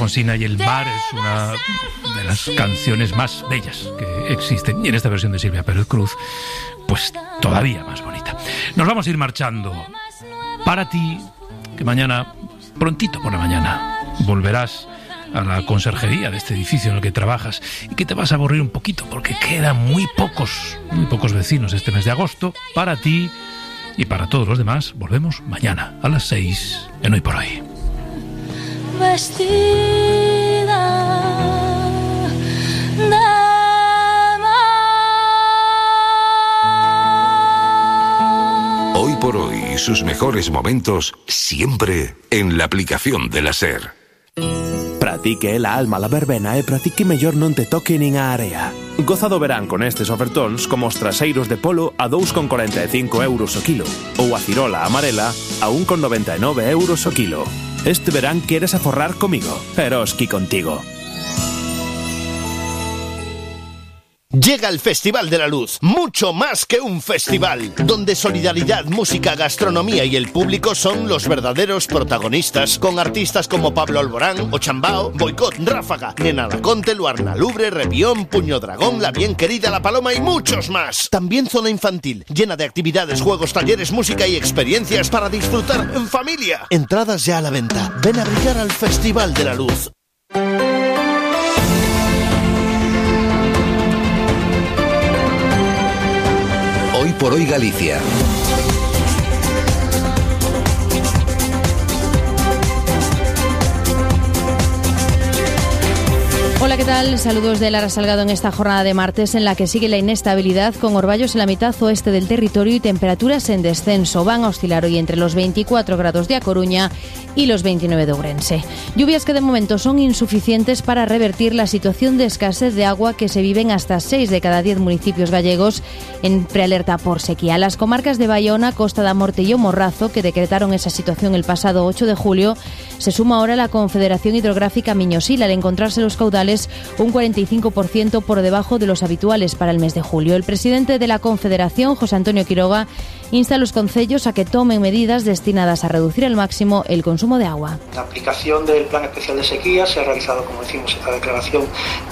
Alfonsina, y el mar es una de las canciones más bellas que existen, y en esta versión de Silvia Pérez Cruz, pues todavía más bonita. Nos vamos a ir marchando. Para ti, que mañana, prontito por la mañana, volverás a la conserjería de este edificio en el que trabajas y que te vas a aburrir un poquito porque quedan muy pocos vecinos este mes de agosto. Para ti y para todos los demás, volvemos mañana a las 6 en Hoy por Hoy. Vestida de Hoy por Hoy, sus mejores momentos siempre en la aplicación de la SER. Pratique la alma la verbena e pratique mellor non te toque nin a area. Goza do verán con estes ofertóns como os traseiros de polo a 2,45 euros o kilo ou a cirola amarela a 1,99 euros o kilo. Este verán queres aforrar comigo, Eroski contigo. Llega el Festival de la Luz, mucho más que un festival, donde solidaridad, música, gastronomía y el público son los verdaderos protagonistas, con artistas como Pablo Alborán, Ochambao, Boicot, Ráfaga, Nena Laconte, Luarna Lubre, Revión, Puño Dragón, La Bien Querida, La Paloma y muchos más. También zona infantil, llena de actividades, juegos, talleres, música y experiencias para disfrutar en familia. Entradas ya a la venta. Ven a brillar al Festival de la Luz. Hoy por Hoy Galicia. Hola, ¿qué tal? Saludos de Lara Salgado en esta jornada de martes en la que sigue la inestabilidad con orvallos en la mitad oeste del territorio y temperaturas en descenso. Van a oscilar hoy entre los 24 grados de A Coruña y los 29 de Ourense. Lluvias que de momento son insuficientes para revertir la situación de escasez de agua que se vive en hasta 6 de cada 10 municipios gallegos en prealerta por sequía. Las comarcas de Baiona, Costa da Morte y O Morrazo, que decretaron esa situación el pasado 8 de julio, se suma ahora la Confederación Hidrográfica Miño-Sil al encontrarse los caudales un 45% por debajo de los habituales para el mes de julio. El presidente de la Confederación, José Antonio Quiroga, insta a los concellos a que tomen medidas destinadas a reducir al máximo el consumo de agua. La aplicación del Plan Especial de Sequía se ha realizado, como decimos, esta declaración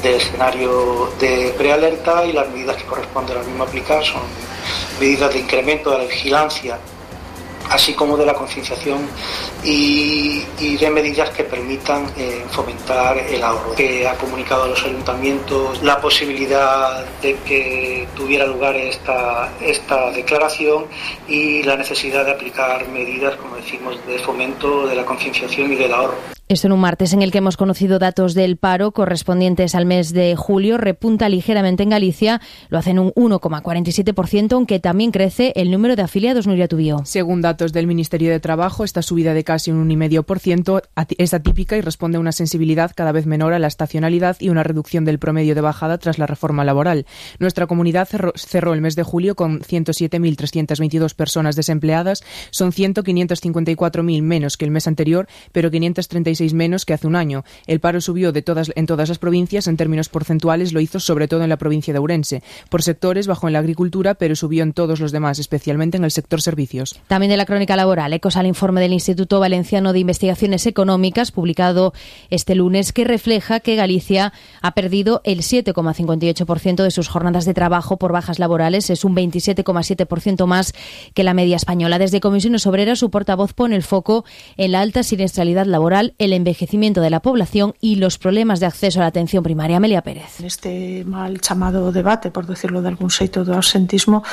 de escenario de prealerta, y las medidas que corresponde a la misma aplicar son medidas de incremento de la vigilancia, así como de la concienciación y de medidas que permitan fomentar el ahorro. Que ha comunicado a los ayuntamientos la posibilidad de que tuviera lugar esta declaración y la necesidad de aplicar medidas, como decimos, de fomento de la concienciación y del ahorro. Esto en un martes en el que hemos conocido datos del paro correspondientes al mes de julio. Repunta ligeramente en Galicia, lo hace en un 1,47%, aunque también crece el número de afiliados. Nuria Tubío. Según datos del Ministerio de Trabajo, esta subida de casi un 1,5% es atípica y responde a una sensibilidad cada vez menor a la estacionalidad y una reducción del promedio de bajada tras la reforma laboral. Nuestra comunidad cerró el mes de julio con 107.322 personas desempleadas. Son 554.000 menos que el mes anterior, pero 536 menos que hace un año. El paro subió en todas las provincias. En términos porcentuales lo hizo sobre todo en la provincia de Ourense. Por sectores bajó en la agricultura, pero subió en todos los demás, especialmente en el sector servicios. También de la crónica laboral, ecos al informe del Instituto Valenciano de Investigaciones Económicas, publicado este lunes, que refleja que Galicia ha perdido el 7,58% de sus jornadas de trabajo por bajas laborales. Es un 27,7% más que la media española. Desde Comisiones Obreras, su portavoz pone el foco en la alta siniestralidad laboral, el envejecimiento de la población y los problemas de acceso a la atención primaria. Amelia Pérez. Neste mal chamado debate, por decirlo de algún xeito, do absentismo,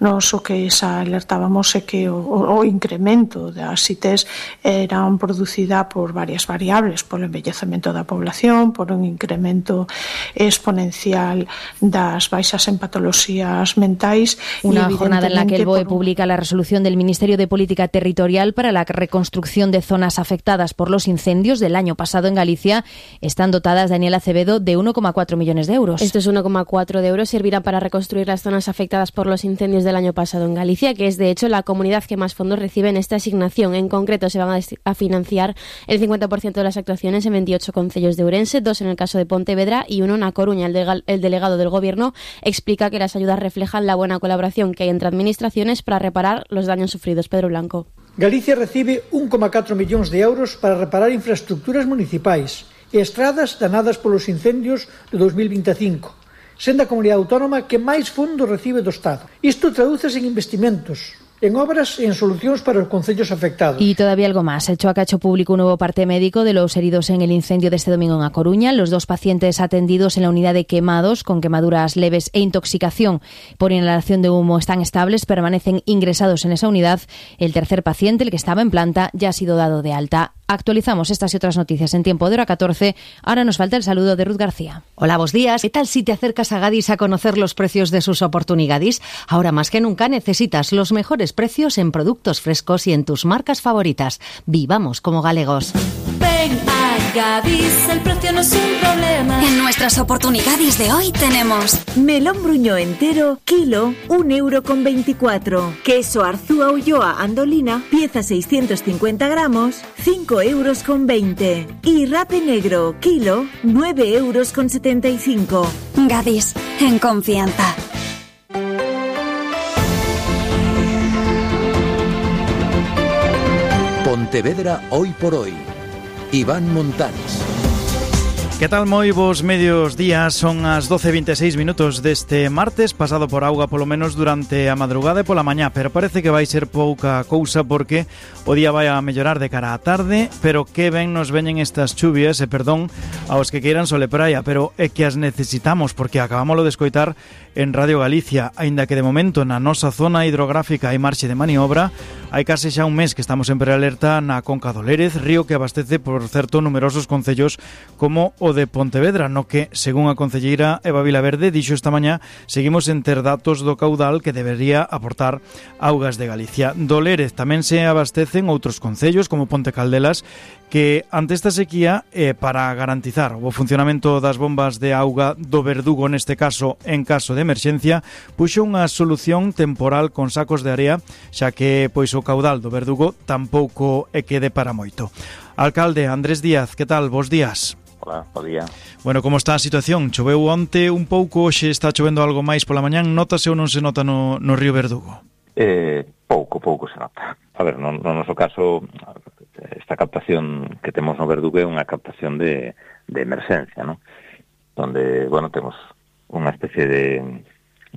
nos o que xa alertábamos é que o incremento das ITs eran producida por varias variables, polo envellecemento da población, por un incremento exponencial das baixas en patoloxías mentais. Una jornada en la que el BOE publica la resolución del Ministerio de Política Territorial para la reconstrucción de zonas afectadas por los incendios del año pasado en Galicia. Están dotadas, Daniela Acevedo, de 1,4 millones de euros. Estos 1,4 de euros servirán para reconstruir las zonas afectadas por los incendios del año pasado en Galicia, que es de hecho la comunidad que más fondos recibe en esta asignación. En concreto se van a financiar el 50% de las actuaciones en 28 concellos de Ourense, 2 en el caso de Pontevedra y 1 en A Coruña. El delegado del Gobierno explica que las ayudas reflejan la buena colaboración que hay entre administraciones para reparar los daños sufridos. Pedro Blanco. Galicia recibe 1,4 millóns de euros para reparar infraestructuras municipais e estradas danadas polos incendios de 2025, sendo a comunidade autónoma que máis fondos recibe do Estado. Isto tradúcese en investimentos, en obras e en solucións para os concellos afectados. Y todavía algo más. El Choaca ha hecho público un nuevo parte médico de los heridos en el incendio de este domingo en A Coruña. Los 2 pacientes atendidos en la unidad de quemados con quemaduras leves e intoxicación por inhalación de humo están estables, permanecen ingresados en esa unidad. El tercer paciente, el que estaba en planta, ya ha sido dado de alta. Actualizamos estas y otras noticias en tiempo de hora 14. Ahora nos falta el saludo de Ruth García. Hola, buenos días. ¿Qué tal si te acercas a Gadis a conocer los precios de sus oportunidades? Ahora más que nunca necesitas los mejores precios en productos frescos y en tus marcas favoritas. Vivamos como galegos. Ven a Gadis, el precio no es un problema. En nuestras oportunidades de hoy tenemos melón bruñó entero, kilo, 1,24 €. Queso Arzúa Ulloa Andolina, pieza 650 gramos, 5,20 €. Y rape negro, kilo, 9,75 €. Gadis, en confianza. Pontevedra hoy por hoy. Iván Montanes. Que tal, moi vos medios días? Son as 12:26 deste martes, pasado por auga polo menos durante a madrugada e pola mañá, pero parece que vai ser pouca cousa porque o día vai a mellorar de cara á tarde, pero que ben nos veñen estas chuvias, e perdón aos que queiran sole praia, pero é que as necesitamos porque acabámoslo de escoitar en Radio Galicia, aínda que de momento na nosa zona hidrográfica hai marxe de maniobra. Hai case xa un mes que estamos en prealerta na Conca do Lérez, río que abastece, por certo, numerosos concellos como o de Pontevedra, no que, según a concelleira Eva Vilaverde, dixo esta mañá, seguimos en ter datos do caudal que debería aportar Augas de Galicia. Do Lérez tamén se abastecen outros concellos como Ponte Caldelas, que ante esta sequía, para garantizar o funcionamento das bombas de auga do Verdugo, neste caso, en caso de emerxencia, puxo unha solución temporal con sacos de area, xa que pois o caudal do Verdugo tampouco é que de para moito. Alcalde Andrés Díaz, que tal? Bos días. Hola, bo día. Bueno, como está a situación? Choveu onte un pouco, hoxe está chovendo algo máis pola mañán, notase ou non se nota no río Verdugo? Pouco se nota. A ver, no noso caso, esta captación que temos no Verdugo é unha captación de emerxencia, ¿no? Donde, bueno, temos unha especie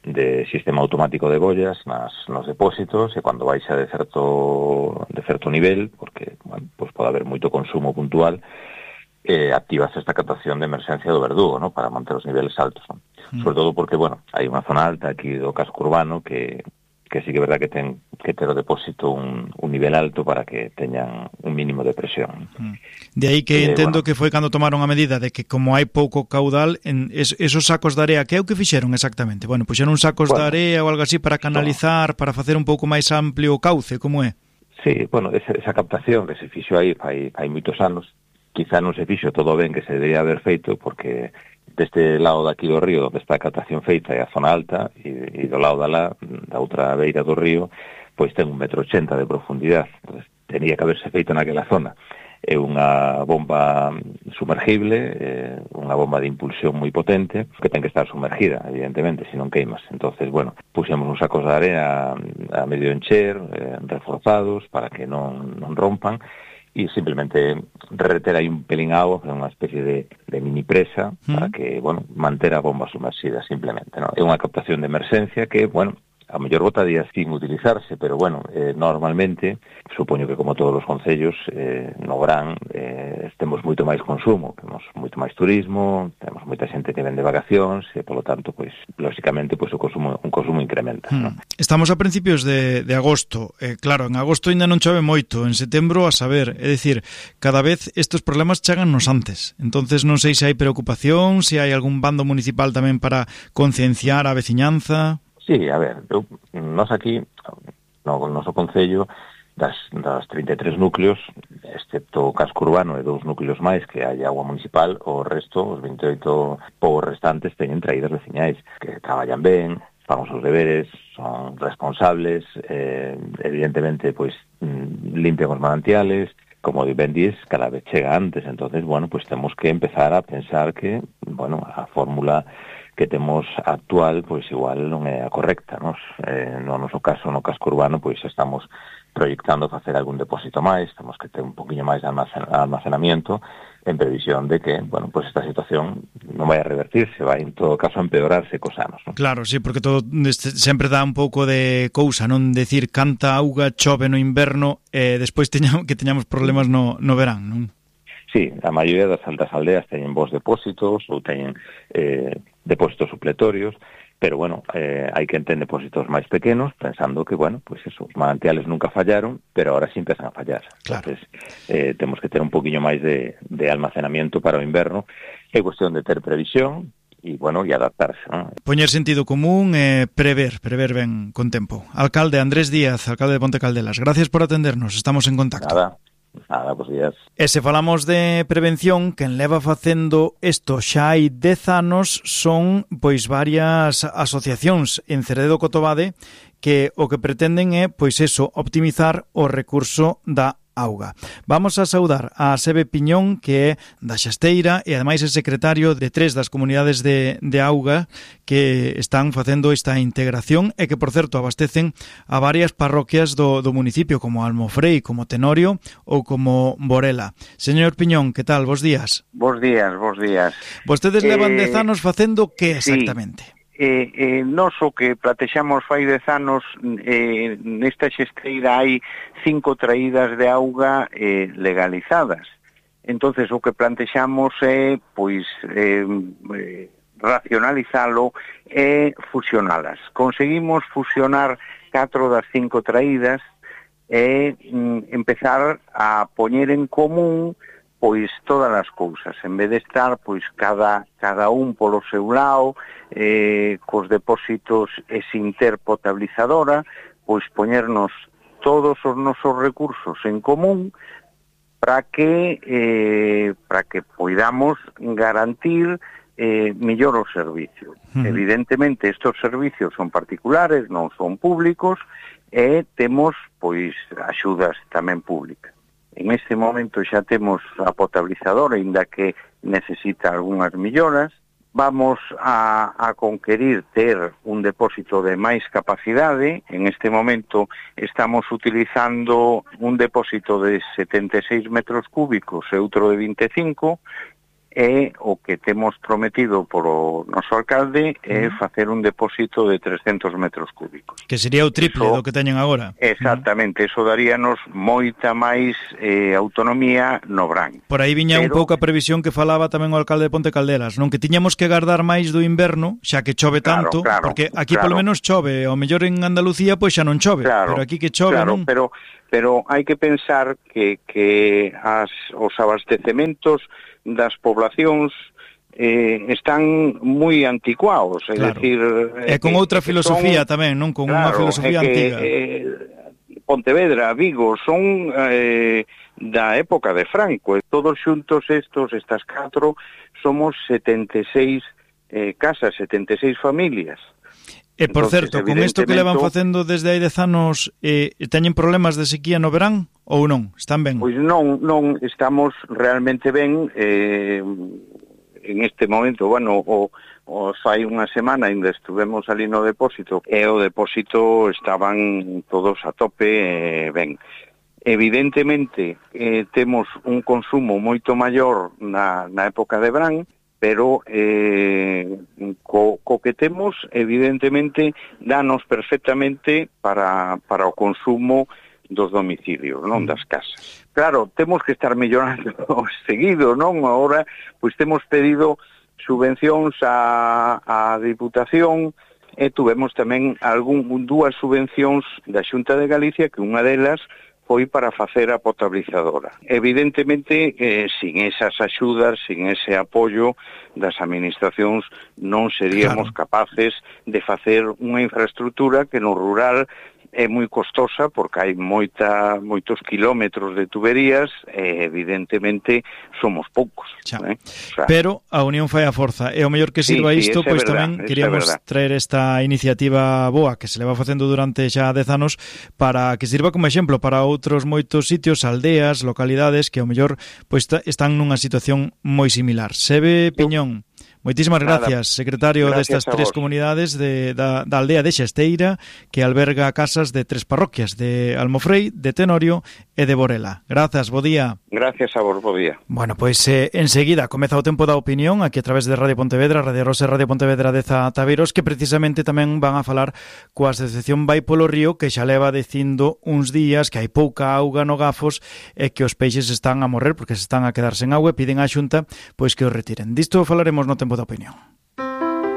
de sistema automático de bollas nos depósitos, e cando baixa de certo nivel, porque, bueno, pues pode haber moito consumo puntual, activas esta captación de emerxencia do Verdugo, ¿no? Para manter os niveles altos, ¿no? Sobre todo porque, bueno, hai unha zona alta aquí do casco urbano que sí que é verdad que ten que ter o depósito un nivel alto para que teñan un mínimo de presión. De aí que entendo que foi cando tomaron a medida de que como hai pouco caudal, esos sacos de area, que é o que fixeron exactamente? Bueno, puxeron sacos de area ou algo así para canalizar, para facer un pouco máis amplio o cauce, como é? Sí, bueno, esa captación que se fixo aí hai moitos anos, quizá non se fixo todo ben que se debería haber feito, porque deste lado daqui do río, onde está a captación feita, é a zona alta, e do lado da outra beira do río, pois ten 1,80 m de profundidade. Entonces, tenía que haberse feito naquela zona. É unha bomba sumergible, unha bomba de impulsión moi potente, que ten que estar sumergida, evidentemente, se non queimas. Entonces, bueno, puxemos uns sacos de area a medio encher, reforzados, para que non rompan, e simplemente reter aí un pelín agua, unha especie de mini presa, para que, bueno, manter a bomba sumerxida simplemente, ¿no? É unha captación de emerxencia que, bueno, a mellor botaría sin utilizarse, pero, bueno, normalmente, supoño que como todos os concellos, no verán, temos moito máis consumo, temos moito máis turismo, temos moita xente que vende vacacións, e, polo tanto, pois, lóxicamente, pois, un consumo incrementa, ¿no? Estamos a principios de agosto, claro, en agosto ainda non chove moito, en setembro a saber, é dicir, cada vez estes problemas chegannos antes, entonces non sei se hai preocupación, se hai algún bando municipal tamén para concienciar a veciñanza. Sí, a ver, nós aquí, no noso concello, das 33 núcleos, excepto o casco urbano e 2 núcleos máis que hai agua municipal, o resto, os 28 povos restantes, teñen traídas veciñais, que traballan ben, fan os seus deberes, son responsables, evidentemente, pois, limpian os manantiales, como ben dís, cada vez chega antes, entonces, bueno, pues temos que empezar a pensar que, bueno, a fórmula que temos actual, pois igual non é a correcta, nos? No noso caso, no casco urbano, pois estamos proyectando facer algún depósito máis, temos que ter un poquinho máis de almacenamiento, en previsión de que, bueno, pues esta situación non vai a revertirse, vai en todo caso a empeorarse cos anos, non? Claro, sí, porque todo sempre dá un pouco de cousa, non decir canta auga chove no inverno e despois que teñamos problemas no verán, non? Sí, a maioría das aldeas teñen bons depósitos ou teñen depósitos supletorios, pero bueno, hai que ter depósitos máis pequenos, pensando que, bueno, pues eso, os manantiales nunca fallaron, pero ahora sí empezan a fallar. Claro. Entonces, temos que ter un poquinho máis de almacenamiento para o inverno. É cuestión de ter previsión e, bueno, e adaptarse, ¿no? Poñer sentido común e prever ben con tempo. Alcalde Andrés Díaz, alcalde de Ponte Caldelas, gracias por atendernos, estamos en contacto. Nada, bons días. E se falamos de prevención, quen leva facendo isto xa hai 10 anos son pois varias asociacións en Ceredo Cotobade que o que pretenden é pois eso, optimizar o recurso da auga. Vamos a saudar a Sebe Piñón, que é da Xasteira e ademais é secretario de 3 das comunidades de auga que están facendo esta integración e que, por certo, abastecen a varias parroquias do municipio, como Almofrei, como Tenorio ou como Borela. Señor Piñón, que tal? Bos días. Bos días. Vostedes levan 10 anos facendo que exactamente? Nos o que platexamos fai 10 anos, nesta xesteira hai 5 traídas de auga legalizadas. Entonces o que plantexamos é pois racionalizalo e fusionalas. Conseguimos fusionar 4 das 5 traídas e empezar a poñer en común pois todas as cousas, en vez de estar pois cada un polo seu lado, cos depósitos e sin ter potabilizadora, pois poñernos todos os nosos recursos en común para que poidamos garantir mellor o servicio. Evidentemente, estes servicios son particulares, non son públicos, e temos pois axudas tamén públicas. En este momento xa temos a potabilizadora, ainda que necesita algunhas melloras. Vamos a conquerir ter un depósito de máis capacidade. En este momento estamos utilizando un depósito de 76 metros cúbicos e outro de 25, e o que temos prometido polo noso alcalde é facer un depósito de 300 metros cúbicos. Que sería o triple do que teñen agora. Exactamente, eso daríanos moita máis autonomía no verán. Por aí viña un pouco a previsión que falaba tamén o alcalde de Ponte Caldelas, non, que tiñamos que gardar máis do inverno, xa que chove tanto, porque aquí polo menos chove, ao mellor en Andalucía pois xa non chove, pero aquí que chove, non? Pero hai que pensar que os abastecementos das poblacións están moi anticuados, é dicir... E con outra filosofía tamén, non? Con unha filosofía antiga. Pontevedra, Vigo, son da época de Franco, e todos xuntos estas 4, somos 76 casas, 76 familias. E, por certo, con isto que levan facendo desde hai 10 anos, teñen problemas de sequía no verán ou non? Están ben? Pois non, estamos realmente ben. En este momento, bueno, fai unha semana ainda estuvemos ali no depósito, e o depósito estaban todos a tope ben. Evidentemente, temos un consumo moito maior na época de verán, pero co que temos, evidentemente, danos perfectamente para o consumo dos domicilios, non das casas. Claro, temos que estar mellorando seguido, non? Agora, pois temos pedido subvencións á Diputación e tuvemos tamén dúas subvencións da Xunta de Galicia, que unha delas foi para facer a potabilizadora. Evidentemente, sin esas axudas, sin ese apoio das administracións, non seríamos capaces de facer unha infraestructura que no rural é moi costosa, porque hai moitos kilómetros de tuberías e evidentemente somos poucos. Pero a unión fai a forza, e o mellor que sirva isto, pois tamén queríamos traer esta iniciativa boa que se leva facendo durante xa 10 anos para que sirva como exemplo para outros moitos sitios, aldeas, localidades que ao mellor pois están nunha situación moi similar. Sebe Piñón, Moitísimas gracias, secretario destas tres comunidades da aldea de Xesteira, que alberga casas de 3 parroquias, de Almofrei, de Tenorio e de Borela. Grazas, bo día. Gracias a vos, bo día. Bueno, pois enseguida comeza o tempo da opinión aquí a través de Radio Pontevedra, Radio Rosa e Radio Pontevedra de Zataveiros, que precisamente tamén van a falar coa Asociación Vai polo Río, que xa leva dicindo uns días que hai pouca auga no Gafos e que os peixes están a morrer porque se están a quedar sen auga e piden á Xunta pois que os retiren. Disto falaremos no tempo da opinión.